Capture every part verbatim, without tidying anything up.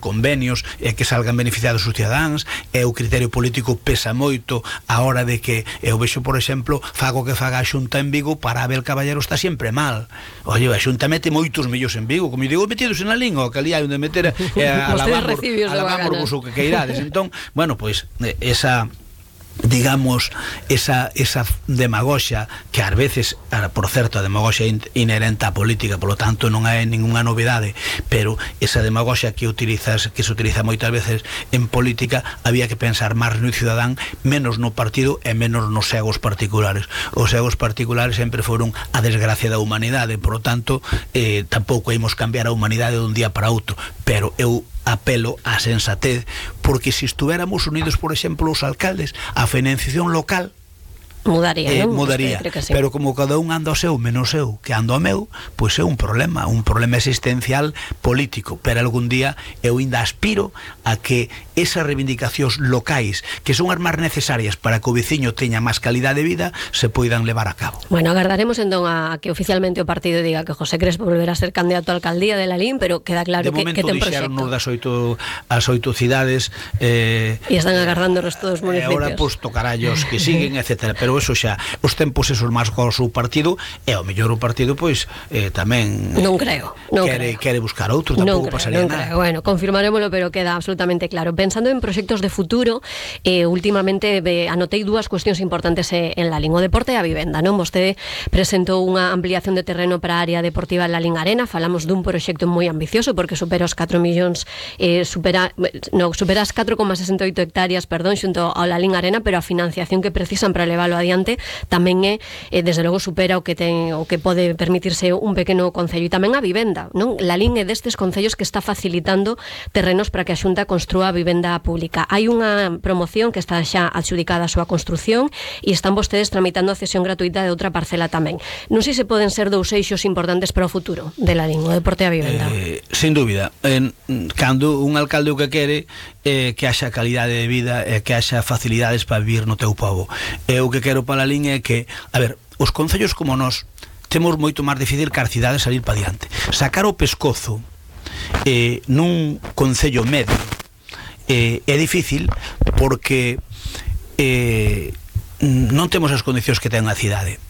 convenios e que salgan beneficiados os cidadáns, e o criterio político pesa moito a hora de que eu vexo, por exemplo, fago que faga a Xunta en Vigo, para Abel Caballero está sempre mal. Oye, a Xunta mete moitos millóns en Vigo, como eu digo, metidos en a língua, que ali hai onde meter eh, a lavamos o que queirades. Entón, bueno, pois pues, esa digamos, esa, esa demagoxia que ás veces, por certo, a demagoxia inherente á política, polo tanto non hai ninguna novidade, pero esa demagoxia que utilizas, que se utiliza moitas veces en política, había que pensar máis no cidadán, menos no partido e menos nos egos particulares. Os egos particulares sempre foron a desgracia da humanidade, por lo tanto eh, tampouco ímos cambiar a humanidade dun día para outro, pero eu apelo á sensatez, porque se estuéramos unidos, por exemplo, os alcaldes, a financiación local mudaría, eh, non? mudaría. Sí. Pero como cada un anda ao seu menos eu que ando ao meu, pois é un problema, un problema existencial político, pero algún día eu ainda aspiro a que esas reivindicacións locais, que son as máis necesarias para que o veciño teña máis calidade de vida, se poidan levar a cabo. Bueno, agardaremos entón a que oficialmente o partido diga que José Crespo volverá a ser candidato a alcaldía de Lalín, pero queda claro que, que ten proxecto. De momento dixeron das oito, as oito cidades eh, e están agardando o resto dos municipios. E agora, pois, tocarallos que siguen, etcétera. Pero eso xa, os tempos esos máis co seu partido, e ao mellor o partido, pois, eh, tamén non creo, non quere, creo. quere buscar outro, tampouco pasaría non nada. Creo. Bueno, confirmarémoslo, pero queda absolutamente claro. Pensando en proxectos de futuro, eh, últimamente eh, anotei dúas cuestións importantes eh, en Lalín, o deporte e a vivenda, non? Vostede presentou unha ampliación de terreno para a área deportiva en Lalín Arena, falamos dun proxecto moi ambicioso, porque supera os catro millóns, eh, supera, no, supera as catro coma sesenta e oito hectáreas, perdón, xunto ao Lalín Arena, pero a financiación que precisan para leválo adiante tamén é, eh, desde logo, supera o que ten, o que pode permitirse un pequeno concello. E tamén a vivenda, non? Lalín é destes concellos que está facilitando terrenos para que a Xunta construa a vivenda pública. Hai unha promoción que está xa adxudicada a súa construción e están vostedes tramitando a cesión gratuita de outra parcela tamén. Non sei se poden ser dous eixos importantes para o futuro de Lalín, o deporte e a vivenda. Eh, sin dúbida, en, cando un alcalde o que quere eh, que haxa calidade de vida e eh, que haxa facilidades para vivir no teu pobo. E o que quero para Lalín é que, a ver, os concellos como nós temos moito máis difícil que as cidades salir para diante. Sacar o pescozo eh, nun concello medio eh, é difícil porque eh, non temos as condicións que ten a cidade.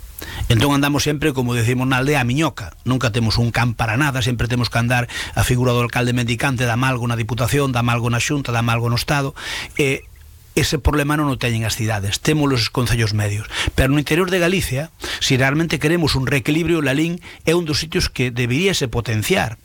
Entón andamos sempre, como decimos na aldea, a miñoca. Nunca temos un can para nada, sempre temos que andar a figura do alcalde mendicante, dá malgo na Diputación, dá malgo na Xunta, dá malgo no Estado. E ese problema non o teñen as cidades, temos os concellos medios, pero no interior de Galicia, se realmente queremos un reequilibrio, Lalín é un dos sitios que deberíase potenciar,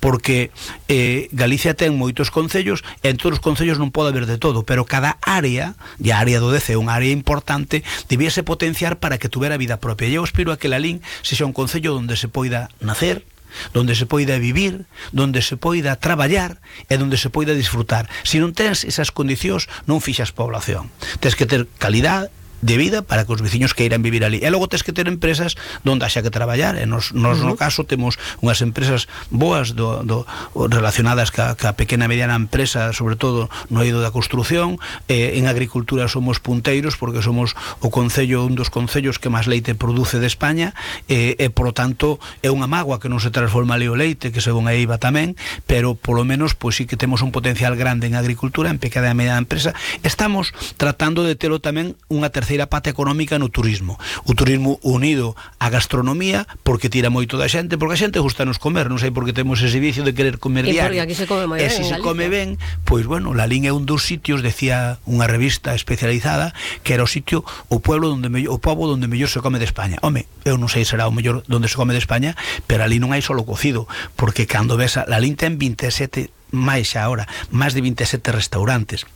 porque eh, Galicia ten moitos concellos e en todos os concellos non pode haber de todo, pero cada área, e a área do Dece é unha área importante, deberíase potenciar para que tuvera vida propia. E eu aspiro a que Lalín sexa un concello onde se poida nacer, donde se poida vivir, donde se poida traballar e donde se poida disfrutar. Se non tens esas condicións, non fixas población. Tens que ter calidade de vida para que os veciños queiran vivir ali. E logo tens que ter empresas donde haxa que traballar. E nos, nos uh -huh. no caso temos unhas empresas boas do, do, relacionadas ca, ca pequena e mediana empresa, sobre todo no eido da construción. Eh, en agricultura somos punteiros porque somos o concello, un dos concellos que máis leite produce de España, e, e por lo tanto é unha mágoa que non se transforma ali o leite, que según a EIVA tamén, pero polo menos pois sí que temos un potencial grande en agricultura, en pequena e mediana empresa. Estamos tratando de telo tamén unha terceira pata económica no turismo. O turismo unido á gastronomía, porque tira moito da xente, porque a xente gusta nos comer, non sei porque temos ese vicio de querer comer diario. E porque aquí se come moi ben. E se se come ben, pois bueno, Lalín é un dos sitios, decía unha revista especializada, que era o sitio, o pueblo onde mellor, o pobo onde mellor se come de España. Home, eu non sei se será o mellor onde se come de España, pero ali non hai solo cocido, porque cando ves a Lalín ten veinte e sete, máis xa ahora, máis de veinte e sete restaurantes.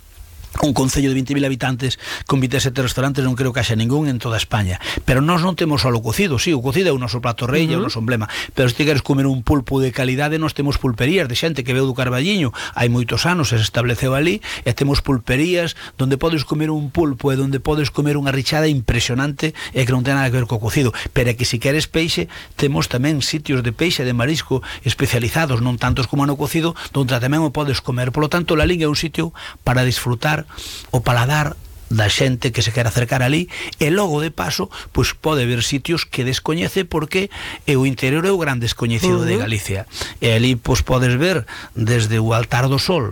Un concello de veinte mil habitantes con veinte e sete restaurantes non creo que haxa ningún en toda España, pero nós non temos só o cocido. Sí, o cocido é o noso plato rei, uh -huh. é o noso emblema, pero se ti queres comer un pulpo de calidade, nós temos pulperías de xente que veu do Carballiño hai moitos anos, se estableceu ali, e temos pulperías onde podes comer un pulpo e onde podes comer unha richada impresionante e que non ten nada que ver co cocido. Pero é que se queres peixe, temos tamén sitios de peixe de marisco especializados, non tantos como no cocido, onde tamén o podes comer. Por lo tanto, Lalín é un sitio para disfrutar o paladar da xente que se quer acercar ali, e logo de paso pois pode ver sitios que descoñece, porque o interior é o gran descoñecido uh -huh. de Galicia, e ali pois podes ver desde o Altar do Sol